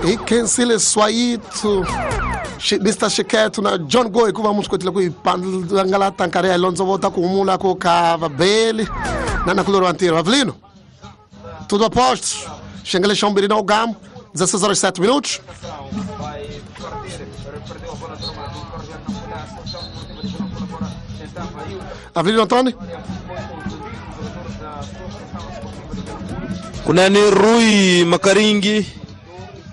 Hi khensile Swayithu Mr Xikhetho na John Go hikuva mu swi kotile ku hi pangalata nkarhi ya hi londzovota ku humula ku ka vabeli na nakulori wa ntirho Avelino. Tudo a postos. Xengele xa vumbirhi na ugamu 16 horas 7 minutos. Avelino Antônio. Kunani Rui Makaringi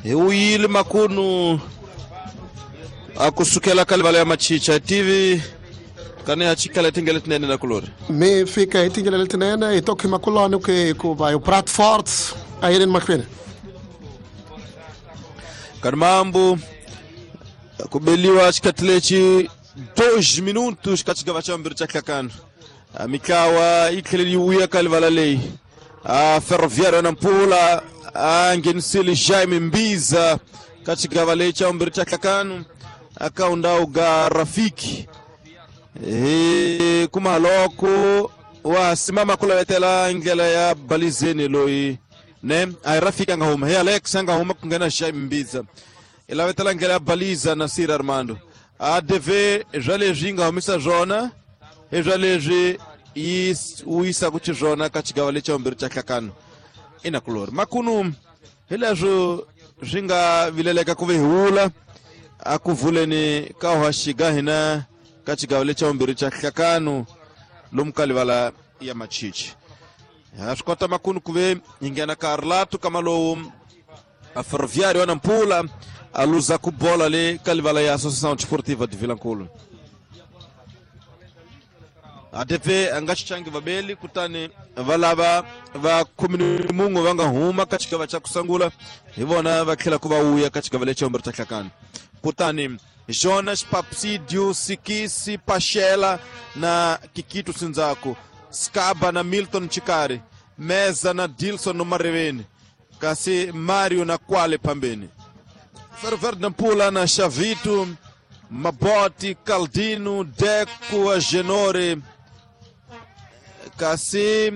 hi wuyile makunu a kusukela ka livala ya Machicha TV kani ha chikala tingele tinene na kulori. Mi fika hi tindlela letinene hi to khima kuloni ku hikuva hi prat fort a yeleni mahlweni. Kani mambu kubeliwa xikhathi lexi 2 minutos ka xigava xa vumbirhi xa hlakano. Mitlawa yi tlhele yi vuya ka livala leyi. Ferroviário Nampula a nghenisile Jaime Mbiza ka xigava lexi xa vumbirhi xa hlakano aka undhawu ga Rafiki. Hi kuma loko wa simama ku lavetela ndlela ya Balizeni loyi ne a hi Rafiki a nga huma hi Alex a nga huma ku nghena Jaime Mbiza i lavetela ndlela ya Baliza na Sir Armando. ADV swa leswi yi nga humisa swona hi swa leswi yi wuyisaka xiswona ka xigava lexi xa vumbirhi xa hlakano ina kulori makunu hi leswo swi nga vileleka ku ve hi wula a ku vuleni ka hoxiga hina ka xigava lexi xa vumbirhi xa hlakano lomu ka livala ya Machichi. Ha swi kota makunu ku ve hi nghena ka Arlato kama lowu a Ferroviário ya Nampula a luza ku bola le ka livala ya Associação Desportiva de Vilankulo. ADV a nga xichangi vabeli kutani va lava va khumini mun'we va nga huma ka xigava xa ku sungula hi vona va tlhela ku va wuya ka xigava lexi vumbirhi xa hlakano. Kutani Jonas Papsidio Sikisi Pachela na Kikito Sinzaku, Skaba na Milton Chikari, Meza na Dilson Mareveni, kasi Mario na Kwale pambeni. Ferroviário Nampula na Xavito, Maboti, Caldino, Deco, Agenore, kasi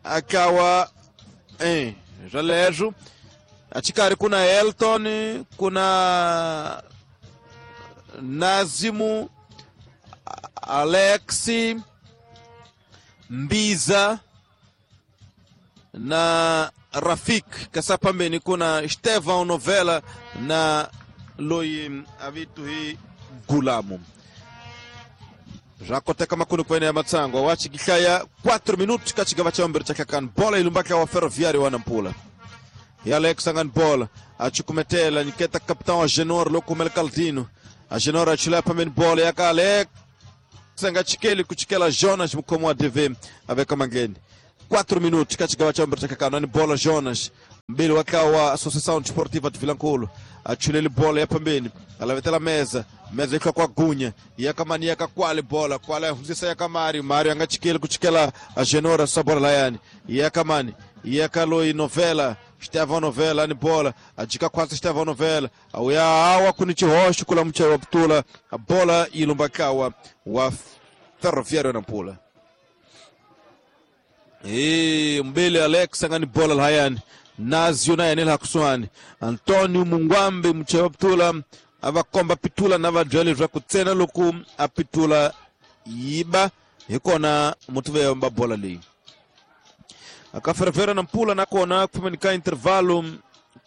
akawa Jalejo, Achikari kuna Elton, kuna Nazimu, Alexi, Mbiza na Rafik. Kasa pambeni kuna Estevão Novela na loyi avitu hi Gulamu. Rakoteka makunu kwene ya Matsango wachikihlaya 4 minutos kachigava cha mbere cha kakan bola ilumbaka wa Ferroviário wa Nampula. E Alex angan bola achikumetela niketa capitão Agenor lokumel Caldino. Agenor achila pambeni bola ya Alex angachikeli kuchikela Jonas mkomo wa DV aveka mangeni. 4 minutos kachigava cha mbere cha kakan ni bola Jonas mbili wakawa Associação Desportiva de Vilankulo achulele bola ya pambeni alavetela meza meza ikwa kwa gunya yakamani yakakwale bola kwale hunzisa yakamari Mario angachikele kuchikela Agenora sabora layani yakamani yakaloi Novela Estevão Novela ni bola ajika kwasa Estevão Novela auya awa kunichihosho kula mcha wa ptula a bola ilumbakawa wa Ferroviário Nampula. Mbele Alex angani bola layani Nazio naye nila hakusuani Antonio Mungwambe mchewa ptula avakomba pitula na vadjali zwa kutsena loku apitula yiba hikona mutuve mba bola li akaferefera na mpula nakona kufamanika intervalo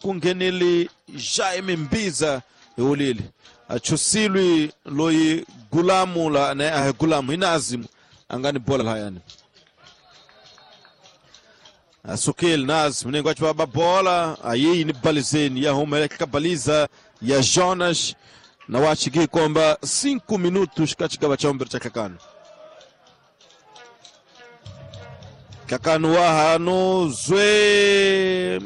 kungeneli Jaime Mbiza eulili achusilwi loyi gulamu la na gulamu inazimu angani bola layani Asukil Naz mnengo achwa bola ayi ni balizeni ya humeleka baliza ya Jonas na wachigi kwamba 5 minutos katika cha mbere cha kakano kakano wa hano zwe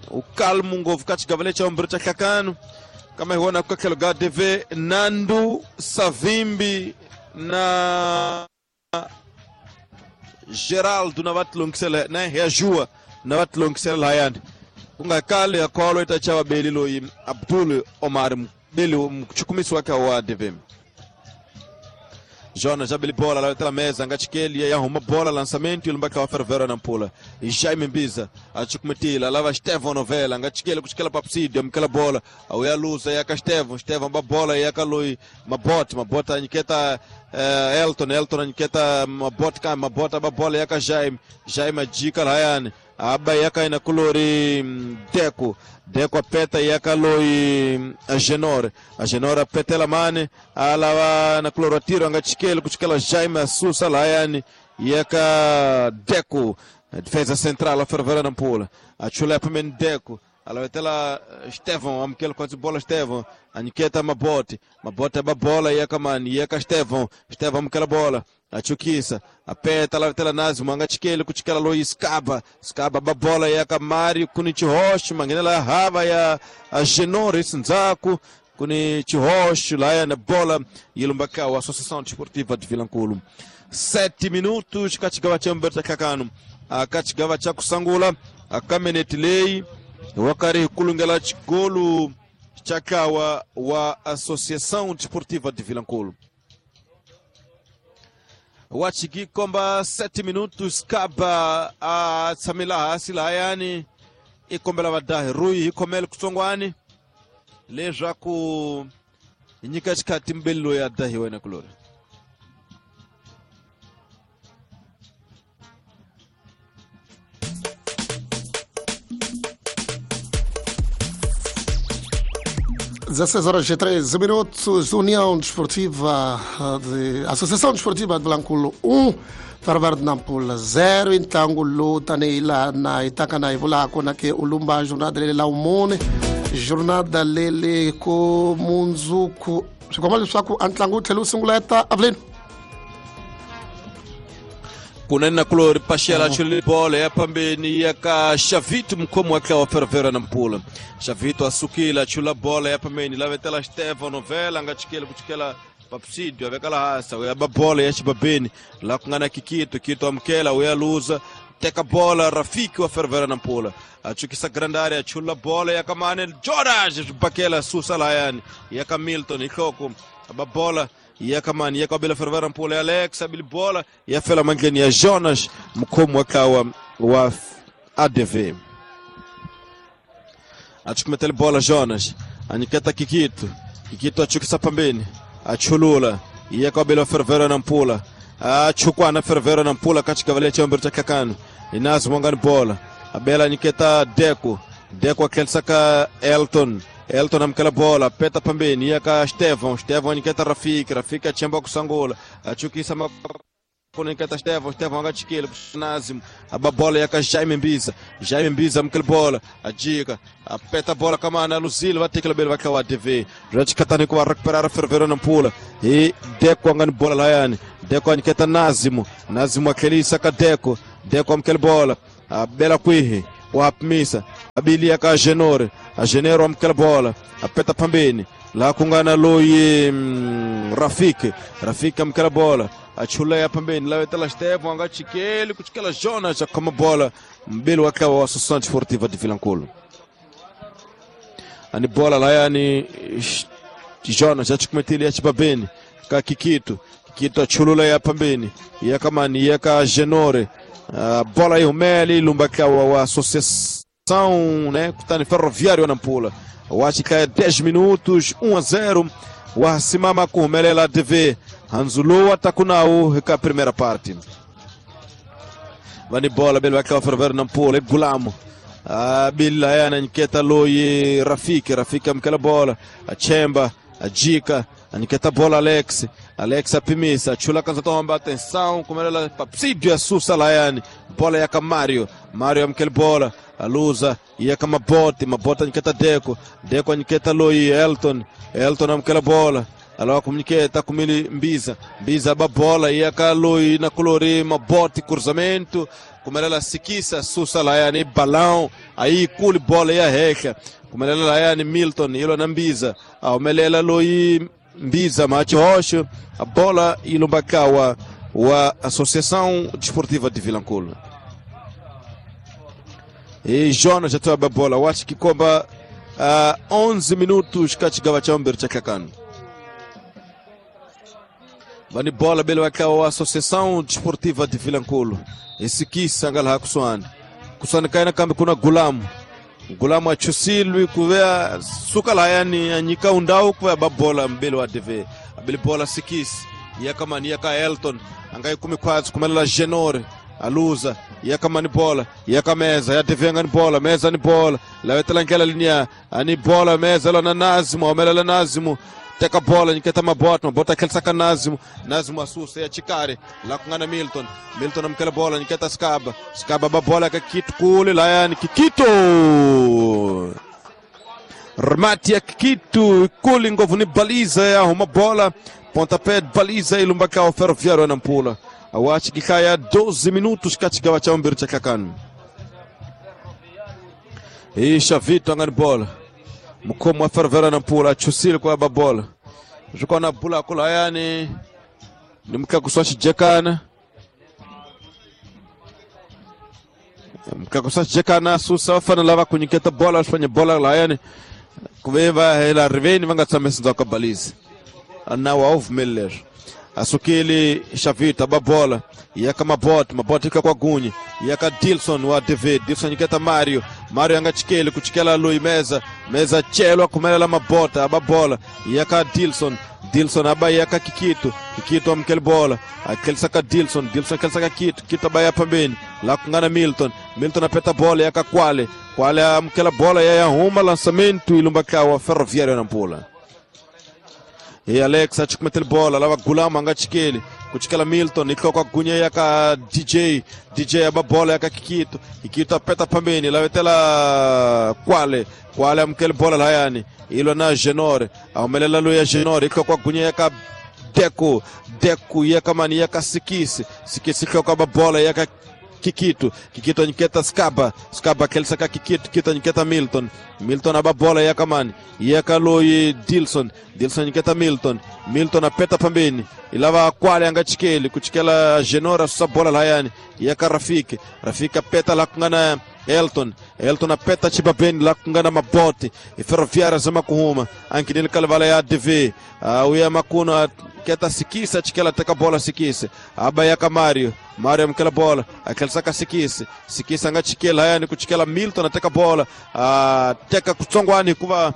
ukalmu ngovu katika vale cha mbere cha kakano kama hiona kwa kelo DV Nandu Savimbi na Geraldo na vatlongisela na ya na vatlongisela hayani kungakale akholo itachawa beli loyi Abdul Omar beli mchukumisi wake wa DV Jonas abili bola la mesa ngachikeli ya huma bola lançamento e lumbaka wa Ferroviário Nampula. E Jaime Mbiza achukumetila lava Estevão Novela ngachikeli kuchikela papsidio amkela bola auya lusa ya Estevão, Estevão ba bola ya Kalui Mabot, Mabot aniketa Elton, Elton aniketa Mabot ka Mabot ba bola ya Jaime, Jaime ajika layani aba yaka ina kulori Deco, Deco apeta yaka loi Agenor, Agenor apetela mane alawa na kuloro tiro angachikele kuchikela Jaime Assusa layani yaka Deco, defesa central a Ferroviária Nampula, achulepa men Deco alawetela Estevão, amkele quase bola Estevão, aniketa Mabote, Mabote aba bola yaka mani yaka Estevão, Estevão amkela bola achukisa apeta lavetela nazi mwanga chikele kuchikela loi skaba skaba babola ya kamari kuni chihoshi mangenela hava ya Agenor nzaku kuni chihoshi laya na bola ilumbaka wa Associação Desportiva de Vilankulo. 7 minutos kachigawa cha Mberta Kakano akachigawa cha kusangula akameneti lei wakari kulungela chigolu chakawa wa Associação Desportiva de Vilankulo. Wachiki komba 7 minutos kaba a tsamila hasi layani ikombela vadahi rui hikhomele kutsongwani leswaku nyika xikhati mbeli loyi a dahiwa na kulori. Horas e 13 minutos, União Desportiva de Associação Desportiva de Vilankulo 1, Ferroviário de Nampula 0. Então, luta neila na Itacana e Vulaco na que ulumba jornada lele la umone, jornada lele ko munzuku. Sikomali swaku antlangu telu singuleta Avelino. Kunena kulori pashela chuli bola ya pambeni ya ka Xavito mkomo wake wa Ferroviário Nampula. Xavito asukila chula bola ya pambeni lavetela Estevão Novela ngachikela kuchikela papsidio avekala hasa ya bola ya chibabeni la kungana kikito kito amkela uya luza teka bola Rafiki wa Ferroviário Nampula achukisa grande área chula bola ya kamane Jorge bakela susa layani ya Hamilton ikhoko ababola yakamani yakabela Ferroviário Nampula Alex abili bola yafela mandleni ya Jonas mkhomo wakawa wa ADV achukumetele bola Jonas aniketa Kikito, Kikito achukisa pambeni achulula yakabela Ferroviário Nampula achukwana Ferroviário Nampula katika vale cha mbere cha kakano inazo mwangani bola abela aniketa Deco, Deco akelsaka Elton, Elton amkela bola peta pambeni yaka Estevão, Estevão aniketa Rafiki, Rafiki achemba kusangula achukisa makoniketa Estevão, Estevão angachikile Nazim ababola yaka Jaime Mbiza, Jaime Mbiza amkela bola ajika apeta bola kamana Luzilo vatekela bele vakawa ADV rachikatani kwa recuperar Ferroviário Nampula e Deco angani bola layani Deco aniketa Nazimo, Nazimo akelisa ka Deco, Deco amkela bola abela kwihi wapmisa abilia ka Agenor, Agenor amkela bola apeta pambeni la kungana loyi Rafiki, Rafiki amkela bola achulea pambeni la wetela Estevão angachikele kuchikela Jonas akoma bola mbili wakawa wa Associação Desportiva de Vilankulo. Ani bola la yani Jonas achikumetili achibabeni ka Kikito, Kikito achulula ya pambeni yakamani yaka Agenor bola ihumele lumbakawa wa Associação, né, kutani Ferroviário Nampula. Wachika 10 minutos 1-0 wasimama kuhumelela ADV Hanzulu atakunau heka primeira parte. Vani bola bele wakawa Ferroviário Nampula Gulamo bila yana nketa loyi Rafiki, Rafiki amkela bola achemba ajika aniketa bola Alex, Alex apimisa chula kanza tomba atenção kumelela papsidio asusa layani bola yaka Mario, Mario amkela bola aluza yaka Mabote, Mabote aniketa Deco, Deco aniketa loyi Elton, Elton amkela bola alawa kumniketa kumili Mbiza, Mbiza babola yaka loyi na kulori Mabote cruzamento kumelela Sikisa susa layani balão aí kuli bola ya heka kumelela layani Milton ilo na Mbiza aumelela loyi Mbiza Macho Rocha a bola ilumbakawa wa Associação Desportiva de Vilankulo. E Jonas já toba a bola wachi kikomba 11 minutos kachigawa cha mbere cha kakano. Vani bola bele wa Associação Desportiva de Vilanculo. Isikisa nga laha kusuhani. Kusuhani ka yena kambe kuna Gulamu. Gulamu achusilwi kuvea suka lahayani anyika undau kuvea babola mbele wa DV. Abele bola sikisi. Yakamani yaka Elton. Angai kumi kwazi kumelela Genore. Aluza yakamani bola yaka meza ya DV ngani bola meza ni bola lawetela nkela linia ani bola meza lona Nazimu amelela Nazimu teka bola niketa mabota mabota kelsa Nazimu Nazimu asusa ya chikare la kungana Milton Milton amkela bola niketa Skaba Skaba babola ka kitu kule layani Kikito remate ya Kikito kule ngovu ni baliza ya uma bola pontapé baliza ilumbaka o Ferroviário Nampula. Awachi kikaya 12 minutos katika wacha mbiri cha kakanu. Isha Vito angani bola. Mkomo wa Ferroviário Nampula chusili kwa babola. Juko na bula kula yani ni mkakuswashi jekana. Mkakuswashi jekana susa wafana lava kunyiketa bola wafanye bola la yani kubeba hela riveni vanga tsamesa kwa balizi. Na wa Miller. Asukili Xavita babola yaka mabot mabot ika kwa gunyi yaka Dilson wa DV Dilson iketa Mario Mario anga chikele kuchikela Lui meza meza chelo kumelela mabota ababola yaka Dilson Dilson aba yaka Kikito Kikito amkele bola akelisaka Dilson Dilson akelisaka Kikito Kikito abaya pambeni la kungana Milton Milton apeta bola yaka Kwale Kwale amkela bola ya huma lançamento ilumbaka wa Ferroviário Nampula. E Alex achikumete bola lava Gulama anga chikele kuchikela Milton ikoko gunya yaka DJ DJ aba bola yaka Kikito Kikito apeta pambeni lawetela Kwale Kwale amkele bola layani ilo na Genore aumelela lo ya Genore ikoko gunya yaka Deco Deco yaka mani yaka Sikisi Sikisi ikoko aba bola yaka Kikito Kikito niketa Skaba Skaba kelsaka Kikito Kikito niketa Milton Milton aba bola yaka mani yaka loyi Dilson Dilson niketa Milton Milton apeta pambeni ilava Kwale anga chikeli kuchikela Genora susa bola layani yaka Rafiki Rafiki apeta la kungana Elton Elton apeta chibabeni la kungana maboti Ferroviária zama kuhuma ankinili kalvala ya DV uya makuna keta Sikisa chikela teka bola Sikisa aba yaka Mario Mario amkela bola akelisaka Sikisa Sikisa anga chikela yani kuchikela Milton ateka bola teka kutsongwani kuva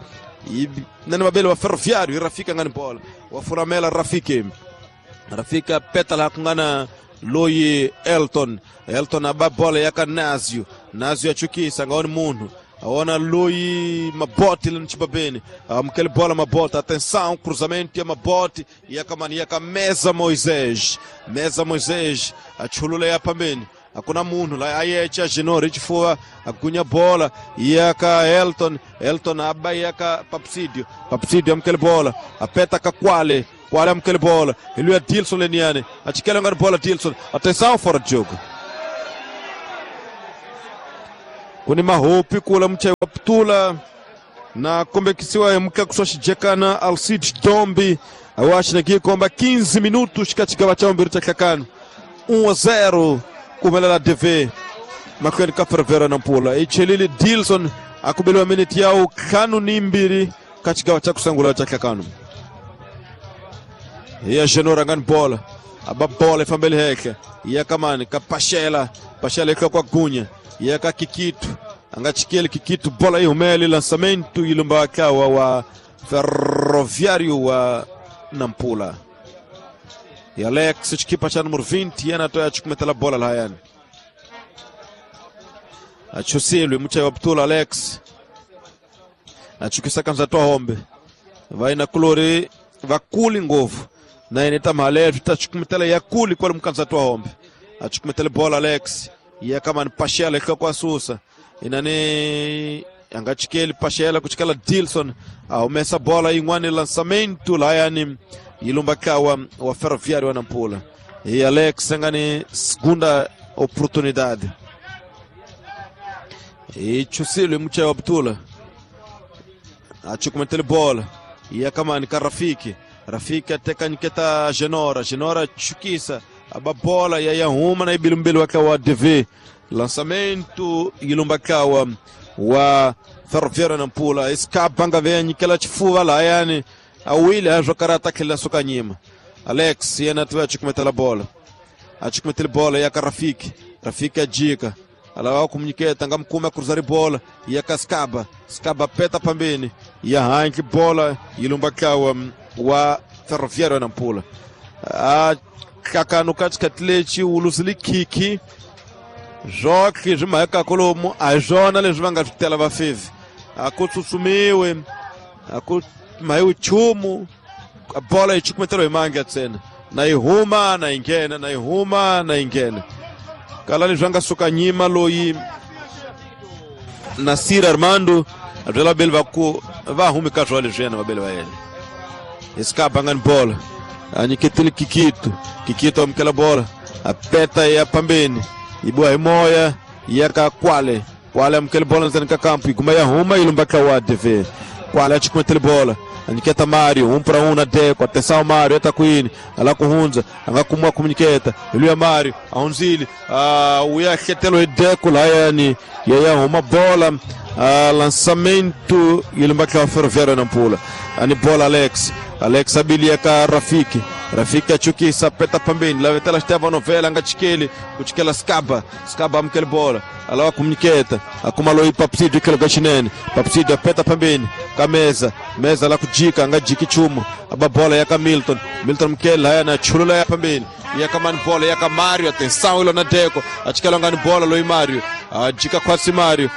nani mabele wa Ferroviário Rafiki ngani bola wafuramela Rafiki Rafiki apeta la kungana Loyi Elton Elton aba bola yaka Nazio Nazio achukisa ngaoni munhu aona Loyi Maboti lá no Chibabene amkele bola Maboti atenção cruzamento ya Maboti yakamani yaka Meza Moisés Meza Moisés achulula ya pambeni akuna munhu la ayecha Genore chifua agunya bola yaka Elton Elton aba yaka Papsidio Papsidio amkele bola apeta ka Kwale Kwale amkele bola ele é Dilson Leniane achikela ngari bola Dilson atenção fora de jogo kuni mahopi kula mche wa ptula na kombekisiwa mka kuswashijekana Alcide Dombi awashi na komba 15 minutos katika wachambiri cha kakano 1-0 kumelela DV makweli ka Ferroviário Nampula ichelili Dilson akubeliwa minute yao kanu ni mbili katika wachakusangula cha kakano ya Genora ngani bola aba bola ifambele heke ya kamani kapashela pashela ikwa kwa gunya yaka Kikito anga chikele Kikito bola ihumele lançamento ilumba kawa wa Ferroviário wa Nampula e Alex chikipa cha número 20 yana toya chikumetela bola la yani achusilwe mucha wa Ptula Alex achukisa kanza toa hombe vai na kulori vakuli ngovu na ineta malevi tachikumetela yakuli kwa mkanza toa hombe achikumetela bola Alex ya kama ni Pashela kwa susa inani angachikeli Pashela kuchikala Dilson aumesa bola ingwani lançamento la yani ilumba kawa wa Ferroviário Nampula e Alex ngani segunda oportunidade e chusilo mcha wa Ptula achikumetele bola ya kama ni Rafiki Rafiki ateka niketa Genora Genora chukisa aba bola ya yahuma na ibilumbili waka wa DV lançamento ilumbakawa wa Ferroviário Nampula escapanga venye kila chifuva la yani awili ajokarata kila sokanyima Alex yena tiva cukumetela bola a cukumetele bola ya ka Rafiki. Rafiki a jika alava ku munyiketa nga mukumi a kuruza ribola ya ka Skaba. Skaba peta pambeni ya handle bola yi lumba ntlawa wa Ferroviário ya Nampula. A hlakano ka xikhathi lexi wu luzile khikhi swotlhe swi mhakaka lomu a hi swona leswi va nga swi tela vafevi a ku tsutsumiwe a ku mhayiwi nchumu bola yi cukumeteliwa hi mandla ntsena na yi huma na yi nghena na yi huma na yi nghena kala leswi a nga suka nyima loyi Nasir Armando a byela vabeli va ku va humi ka swona leswi yena vabeli va yena hi Skaba nga ni bola a nyiketile Kikito. Kikito amukela bola a peta ya pambeni yi biwa hi moya ya ka Kwale. Kwale amukele bola ndzeni ka kampu yi guma ya huma yi lumba tlawa DV. Kwale a cukumetele bola a nyiketa Mario 1 para 1 na Deco. Atenção Mario eta kwini ala ku hundza a nga kumiwa ku nyiketa hi luya Mario a hundzile u ya hletelo hi Deco layani ya ya huma bola lançamento yi lumba tlawa Ferroviário ya Nampula. Ani bola Alex. Alex abilia ka Rafiki. Rafiki achukisa peta pambeni lavetela Esteban Novela nga chikeli kuchikela Skaba. Skaba amukele bola alawa kumnyiketa akuma loyi Papsidio ikelo ka xinene. Papsidio apeta pambeni ka Meza. Meza la kujika nga jiki chumu aba bola ya ka Milton. Milton mukele laya na chulula ya pambeni ya ka mani bola ya ka Mario. Atenção ilo na Deco achikela ngani bola loyi Mario ajika kwasi Mario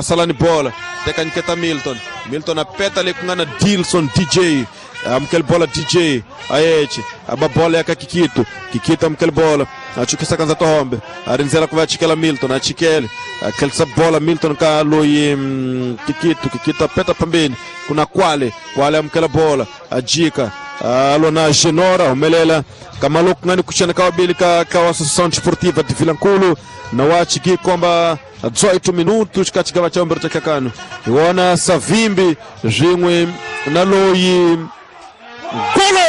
salani bola teka nyiketa Milton. Milton apeta le kungana Dilson DJ amukele bola DJ ayeche aba bola ya ka Kikito. Kikito amukele bola achukisa kanza tohombe arinzela ku va chikela Milton achikele akhelisa bola Milton ka loyi Kikito. Kikito apeta pambeni kuna Kwale. Kwale amukela bola ajika alona Genora humelela kamalo kungani kuchana ka wabili ka ka Associação Desportiva de Vilankulo na wachiki kwamba 18 minutos ka chigava cha mbere cha kakano iwona Savimbi zwinwe na loyi golo.